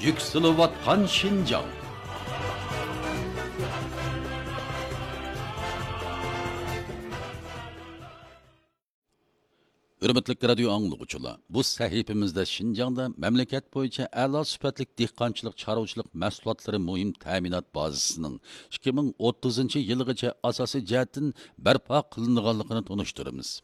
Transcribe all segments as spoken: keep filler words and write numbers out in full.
يۈكسىلىۋاتقان شىنجاڭ. ھۆرمەتلىك رادىيو ئاڭلىغۇچىلار، بۇ سەھىپىمىزدە شىنجاڭدا مەملىكەت بويىچە ئەلا سۈپەتلىك دېھقانچىلىق، چارۋىچىلىق مەھسۇلاتلىرى مۇھىم تەمىنات بازىسىنىڭ ئىككى مىڭ ئوتتۇزىنچى يىلىغىچە ئاساسىي جەھەتتىن بەرپا قىلىنىدىغانلىقىنى تونۇشتۇرىمىز.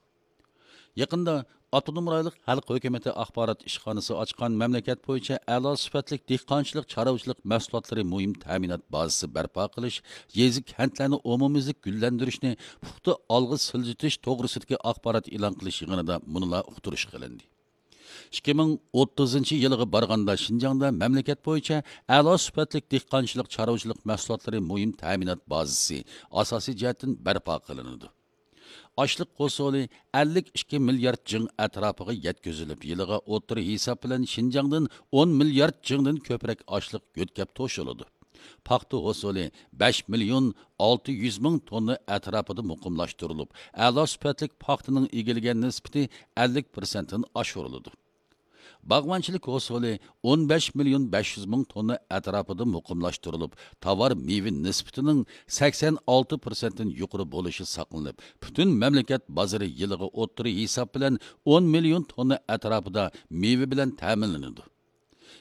يېقىندا ئاپتونوم رايونلۇق خەلق ھۆكۈمىتى ئاخبارات ئىشخانىسى ئاچقان مەملىكەت بويىچە ئەلا سۈپەتلىك دېھقانچىلىق، چارۋىچىلىق مەھسۇلاتلىرى مۇھىم تەمىنات بازىسى بەرپا قىلىش، يېزا، كەنتلەرنى ئومۇميۈزلۈك گۈللەندۈرۈشنى پۇختا ئالغا سىلجىتىش توغرىسىدىكى ئاخبارات ئېلان قىلىش يىغىنىدا مۇنۇلار ئۇقتۇرۇش قىلىندى. ئىككى مىڭ ئوتتۇزىنچى يىلغا بارغاندا شىنجاڭدا مەملىكەت بويىچە ئەلا سۈپەتلىك دېھقانچىلىق، چارۋىچىلىق مەھسۇلاتلىرى مۇھىم تەمىنات بازىسى ئاساسىي جەھەتتىن بەرپا قىلىنىدۇ. ئاشلىق ھوسۇلى ئەللىك ئىككى مىليارد جىڭ ئەتراپىغا يەتكۈزۈلۈپ، يىلىغا ئوتتۇرا ھېساب بىلەن شىنجاڭدىن ئون مىليارد جىڭدىن كۆپرەك ئاشلىق يۆتكەپ توشۇلىدۇ. پاختا ھوسۇلى بەش مىليون ئالتە يۈز مىڭ توننا ئەتراپىدا مۇقىملاشتۇرۇلۇپ، ئەلا سۈپەتلىك پاختىنىڭ ئىگىلىگەن نىسبىتى ئەللىك پىرسەنتتىن ئاشۇرۇلىدۇ. باغۋەنچىلىك ھوسۇلى ئون بەش مىليون بەش يۈز مىڭ توننا ئەتراپىدا مۇقىملاشتۇرۇلۇپ، تاۋار مېۋە نىسبىتىنىڭ سەكسەن ئالتە پىرسەنتتىن يۇقىرى بولۇشى ساقلىنىپ، پۈتۈن مەملىكەت بازىرى يىلىغا ئوتتۇرا ھېساب بىلەن ئون مىليون توننا ئەتراپىدا مېۋە بىلەن تەمىنلىنىدۇ.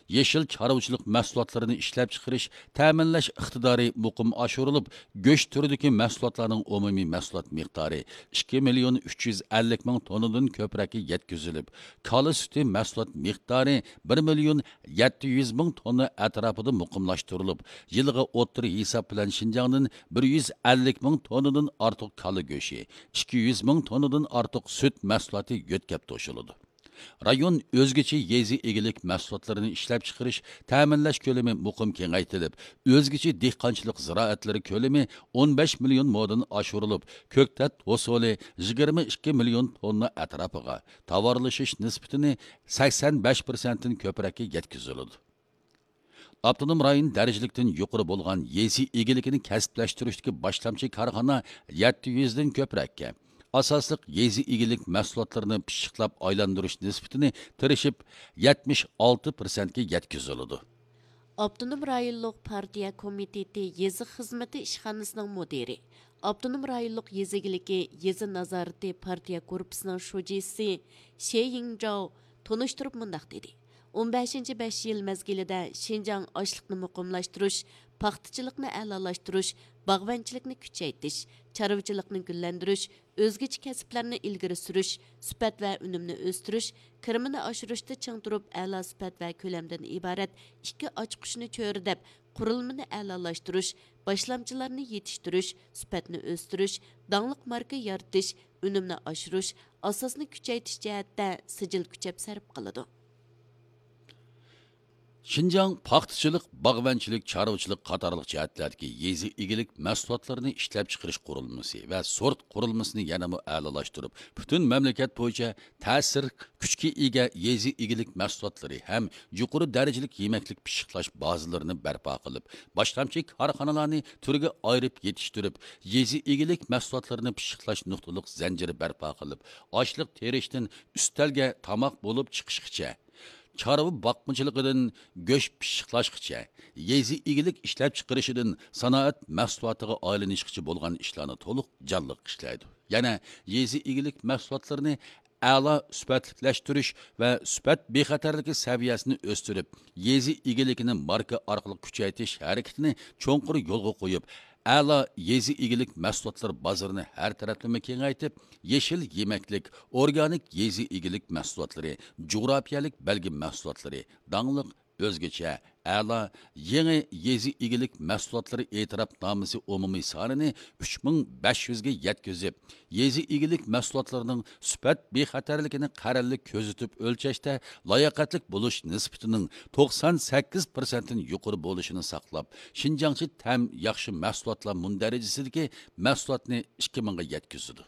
يېشىل چارۋىچىلىق مەھسۇلاتلىرىنى ئىشلەپچىقىرىش، تەمىنلەش ئىقتىدارى مۇقىم ئاشۇرۇلۇپ، گۆش تۈرىدىكى مەھسۇلاتلارنىڭ ئومۇمىي مەھسۇلات مىقدارى ئىككى مىليون ئۈچ يۈز ئەللىك مىڭ توننىدىن كۆپرەككە يەتكۈزۈلۈپ، كالا سۈتى مەھسۇلات مىقدارى بىر مىليون يەتتە يۈز مىڭ توننا ئەتراپىدا مۇقىملاشتۇرۇلۇپ، يىلىغا ئوتتۇرا ھېساب بىلەن شىنجاڭدىن بىر يۈز ئەللىك مىڭ توننىدىن ئارتۇق كالا گۆشى، ئىككى يۈز مىڭ توننىدىن ئارتۇق سۈت مەھسۇلاتى يۆتكەپ توشۇلىدۇ. رايون ئۆزگىچە يېزا ئىگىلىك مەھسۇلاتلىرىنى ئىشلەپچىقىرىش، تەمىنلەش كۆلىمى مۇقىم كېڭەيتىلىپ، ئۆزگىچە دېھقانچىلىق زىرائەتلىرى كۆلىمى ئون بەش مىليون مودىن ئاشۇرۇلۇپ، كۆكتات ھوسۇلى يىگىرمە ئىككى مىليون توننا ئەتراپىغا، تاۋارلىشىش نىسبىتىنى سەكسەن بەش پىرسەنتتىن كۆپرەككە يەتكۈزۈلىدۇ. ئاپتونوم رايون دەرىجىلىكتىن يۇقىرى بولغان يېزا ئىگىلىكىنى كەسىپلەشتۈرۈشتىكى باشلامچى كارخانا يەتتە يۈزدىن كۆپرەككە، ئاساسلىق يېزا ئىگىلىك مەھسۇلاتلىرىنى پىششىقلاپ ئايلاندۇرۇش نىسبىتىنى تىرىشىپ يەتمىش ئالتە پىرسەنتكە يەتكۈزۈلىدۇ. ئاپتونوم رايونلۇق پارتىيە كومىتېتى يېزا خىزمىتى ئىشخانىسىنىڭ مۇدىرى، ئاپتونوم رايونلۇق يېزا ئىگىلىكى يېزا نازارىتى پارتىيە گۇرۇپپىسىنىڭ شۇجىسى شې يىڭجاۋ تونۇشتۇرۇپ مۇنداق دېدى: ئون بەشىنچى بەش يىل مەزگىلىدە شىنجاڭ ئاشلىقنى مۇقىملاشتۇرۇش، پاختىچىلىقنى ئەلالاشتۇرۇش، باغۋەنچىلىكنى كۈچەيتىش، چارۋىچىلىقنى گۈللەندۈرۈش، ئۆزگىچە كەسىپلەرنى ئىلگىرى سۈرۈش، سۈپەت ۋە ئۈنۈمنى ئۆستۈرۈش، كىرىمىنى ئاشۇرۇشتا چىڭ تۇرۇپ، ئەلا سۈپەت ۋە كۆلەمدىن ئىبارەت ئىككى ئاچقۇچنى چۆرىدەپ، قۇرۇلمىنى ئەلالاشتۇرۇش، باشلامچىلارنى يېتىشتۈرۈش، سۈپەتنى ئۆستۈرۈش، داڭلىق ماركا يارىتىش، ئۈنۈمنى ئاشۇرۇش، ئاساسنى كۈچەيتىش جەھەتتە سىجىل كۈچەپ سەرپ قىلىدۇ. شىنجاڭ پاختىچىلىق، باغۋەنچىلىك، چارۋىچىلىق قاتارلىق جەھەتلەردىكى يېزا ئىگىلىك مەھسۇلاتلىرىنى ئىشلەپچىقىرىش قۇرۇلمىسى ۋە سورت قۇرۇلمىسىنى يەنىمۇ ئەلالاشتۇرۇپ، پۈتۈن مەملىكەت بويىچە تەسىر كۈچكە ئىگە يېزا ئىگىلىك مەھسۇلاتلىرى ھەم يۇقىرى دەرىجىلىك يېمەكلىك پىششىقلاش بازىلىرىنى بەرپا قىلىپ، باشلامچى كارخانىلارنى تۈرگە ئايرىپ يېتىشتۈرۈپ، يېزا ئىگىلىك مەھسۇلاتلىرىنى پىششىقلاش نۇقتىلىق زەنجىرى بەرپا قىلىپ، ئاشلىق تېرىشتىن ئۈستەلگە تاماق بولۇپ چىقىشقىچە، چارۋا باقمىچىلىقىدىن گۆش پىششىقلاشقىچە، يېزا ئىگىلىك ئىشلەپچىقىرىشىدىن سانائەت مەھسۇلاتىغا ئايلىنىشقىچە بولغان ئىشلارنى تولۇق جانلىق ئىشلەيدۇ. يەنە يېزا ئىگىلىك مەھسۇلاتلىرىنى ئەلا سۈپەتلىكلەشتۈرۈش ۋە سۈپەت بىخەتەرلىكى سەۋىيەسىنى ئۆستۈرۈپ، يېزا ئىگىلىكىنى ماركا ئارقىلىق كۈچەيتىش ھەرىكىتىنى چوڭقۇر يولغا قويۇپ، ئەلا يېزا ئىگىلىك مەھسۇلاتلىرى بازىرىنى ھەر تەرەپلىمە كېڭەيتىپ، يېشىل يېمەكلىك، ئورگانىك يېزا ئىگىلىك مەھسۇلاتلىرى، جۇغراپىيەلىك بەلگە مەھسۇلاتلىرى، داڭلىق، ئۆزگىچە، ئەلا، يېڭى يېزا ئىگىلىك مەھسۇلاتلىرى ئېتىراپنامىسى ئومۇمىي سانىنى ئۈچ مىڭ بەش يۈزگە يەتكۈزۈپ، يېزا ئىگىلىك مەھسۇلاتلىرىنىڭ سۈپەت بىخەتەرلىكىنى قەرەللىك كۆزىتىپ ئۆلچەشتە لاياقەتلىك بولۇش نىسبىتىنىڭ توقسان سەككىز پىرسەنتتىن يۇقىرى بولۇشىنى ساقلاپ، شىنجاڭچە تەم ياخشى مەھسۇلاتلار مۇندەرىجىسىدىكى مەھسۇلاتنى ئىككى مىڭغا يەتكۈزىدۇ.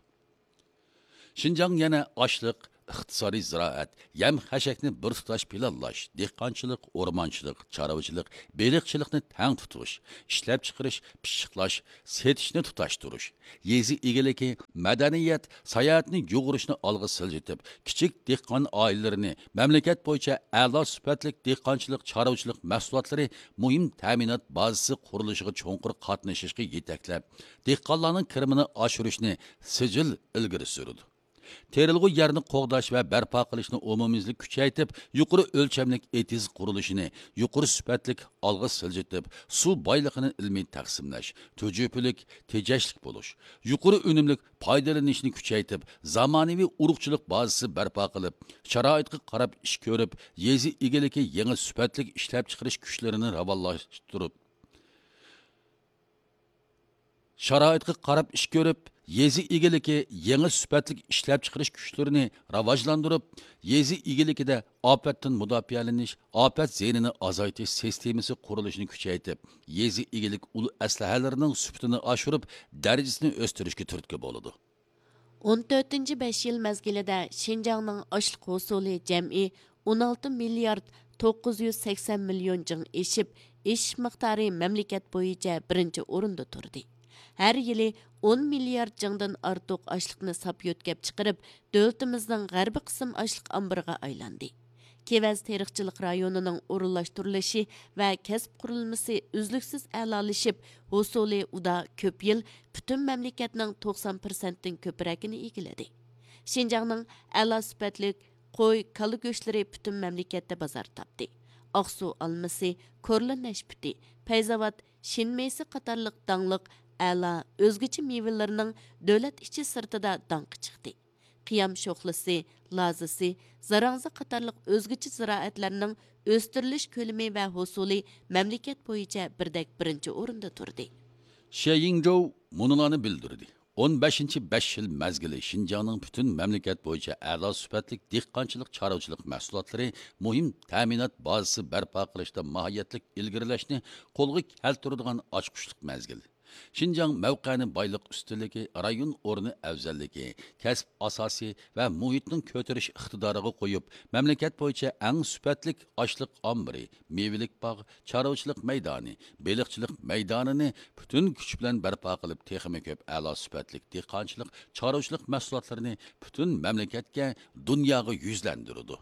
شىنجاڭ يەنە ئاشلىق، ئىقتىسادىي زىرائەت، يەم-خەشەكنى بىر تۇتاش پىلانلاش، دېھقانچىلىق، ئورمانچىلىق، چارۋىچىلىق، بېلىقچىلىقنى تەڭ تۇتۇش، ئىشلەپچىقىرىش، پىششىقلاش، سېتىشنى تۇتاشتۇرۇش، يېزا ئىگىلىكى، مەدەنىيەت، ساياھەتنى يۇغۇرۇشنى ئالغا سىلجىتىپ، كىچىك دېھقان ئائىلىلىرىنى مەملىكەت بويىچە ئەلا سۈپەتلىك دېھقانچىلىق، چارۋىچىلىق مەھسۇلاتلىرى مۇھىم تەمىنات بازىسى قۇرۇلۇشىغا چوڭقۇر قاتنىشىشقا يېتەكلەپ، دېھقانلارنىڭ كىرىمىنى ئاشۇرۇشنى سىجىل ئىلگىرى سۈرىدۇ. تېرىلغۇ يەرنى قوغداش ۋە بەرپا قىلىشنى ئومۇميۈزلۈك كۈچەيتىپ، يۇقىرى ئۆلچەملىك ئېتىز قۇرۇلۇشىنى يۇقىرى سۈپەتلىك ئالغا سىلجىتىپ، سۇ بايلىقىنى ئىلمىي تەقسىملەش، تۈجۈپىلىك، تېجەشلىك بولۇش، يۇقىرى ئۈنۈملۈك پايدىلىنىشنى كۈچەيتىپ، زامانىۋى ئۇرۇقچىلىق بازىسى بەرپا قىلىپ، شارائىتقا قاراپ ئىش كۆرۈپ، يېزا ئىگىلىكى يېڭى سۈپەتلىك ئىشلەپچىقىرىش كۈچلىرىنى راۋانلاشتۇرۇپ، شارائىتقا قاراپ ئىش كۆرۈپ، يېزا ئىگىلىكى يېڭى سۈپەتلىك ئىشلەپچىقىرىش كۈچلىرىنى راۋاجلاندۇرۇپ، يېزا ئىگىلىكىدە ئاپەتتىن مۇداپىئەلىنىش، ئاپەت زىيىنىنى ئازايتىش سىستېمىسى قۇرۇلۇشىنى كۈچەيتىپ، يېزا ئىگىلىك ئۇل ئەسلىھەلىرىنىڭ سۈپىتىنى ئاشۇرۇپ، دەرىجىسىنى ئۆستۈرۈشكە تۈرتكە بولىدۇ. ئون تۆتىنچى بەش يىل مەزگىلىدە شىنجاڭنىڭ ئاشلىق ھوسۇلى جەمئىي ئون ئالتە مىليارد توققۇز يۈز سەكسەن مىليون جىڭ ئېشىپ، ئېشىش مىقدارى مەملىكەت بويىچە بىرىنچى ئورۇندا تۇردى. ھەر يىلى ئون مىليارد جىڭدىن ئارتۇق ئاشلىقنى ساپ يۆتكەپ چىقىرىپ، دۆلىتىمىزنىڭ غەربىي قىسىم ئاشلىق ئامبىرىغا ئايلاندى. كېۋەز تېرىقچىلىق رايونىنىڭ ئورۇنلاشتۇرۇلۇشى ۋە كەسىپ قۇرۇلمىسى ئۈزلۈكسىز ئەلالىشىپ، ھوسۇلى ئۇدا كۆپ يىل پۈتۈن مەملىكەتنىڭ توقسان پىرسەنتتىن كۆپرەكىنى ئىگىلىدى. شىنجاڭنىڭ ئەلا سۈپەتلىك قوي، كالا گۆشلىرى پۈتۈن مەملىكەتتە بازار تاپتى. ئاقسۇ ئالمىسى، كورلا نەشپۈتى، پەيزاۋات شىنمېيسى قاتارلىق داڭلىق ئەلا ئۆزگىچە مېۋىلىرىنىڭ دۆلەت ئىچى سىرتىدا داڭقى چىقتى. قىيام شوخلىسى، لازىسى، زاراڭزا قاتارلىق ئۆزگىچە زىرائەتلەرنىڭ ئۆستۈرۈلۈش كۆلىمى ۋە ھوسۇلى مەملىكەت بويىچە بىردەك بىرىنچى ئورۇندا تۇردى. شيىڭجوۋ مۇنۇلارنى بىلدۈردى. ئون بەشىنچى بەش يىل مەزگىلى شىنجاڭنىڭ پۈتۈن مەملىكەت بويىچە ئەلا سۈپەتلىك دېھقانچىلىق، چارۋىچىلىق مەھسۇلاتلىرى مۇھىم تەمىنات بازىسى بەرپا قىلىشتا ماھىيەتلىك ئىلگىرىلەشنى قولغا كەلتۈرىدىغان ئاچقۇچلۇق مەزگىل. شىنجاڭ مەۋقەنى بايلىق ئۈستۈنلۈكى، رايون ئورنى ئەۋزەللىكى، كەسىپ ئاساسى ۋە مۇھىتنىڭ كۆتۈرۈش ئىقتىدارىغا قويۇپ، مەملىكەت بويىچە ئەڭ سۈپەتلىك ئاشلىق ئامبىرى، مېۋىلىك باغ، چارۋىچىلىق مەيدانى، بېلىقچىلىق مەيدانىنى پۈتۈن كۈچ بىلەن بەرپا قىلىپ، تېخىمۇ كۆپ ئەلا سۈپەتلىك دېھقانچىلىق، چارۋىچىلىق مەھسۇلاتلىرىنى پۈتۈن مەملىكەتكە، دۇنياغا يۈزلەندۈرىدۇ.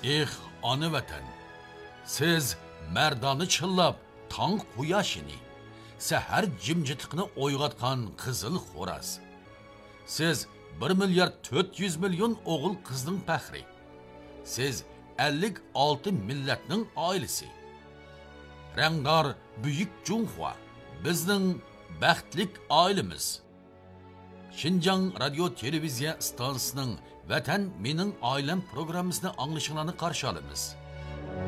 ئېھ، ئانا ۋەتەن! سىز مەردانە چىللاپ تاڭ قۇياشىنى، سەھەر جىمجىتلىقىنى ئويغاتقان قىزىل خوراز. سىز بىر مىليارد تۆت يۈز مىليون ئوغۇل قىزنىڭ پەخرى. سىز ئەللىك ئالتە مىللەتنىڭ ئائىلىسى. رەڭدار بۈيۈك جۇڭخۇا، بىزنىڭ بەختلىك ئائىلىمىز. شىنجاڭ رادىيو تېلېۋىزىيە ئىستانسىسىنىڭ ۋەتەن مېنىڭ ئائىلەم پروگراممىسىنى ئاڭلىشىڭلارنى قارشى ئالىمىز.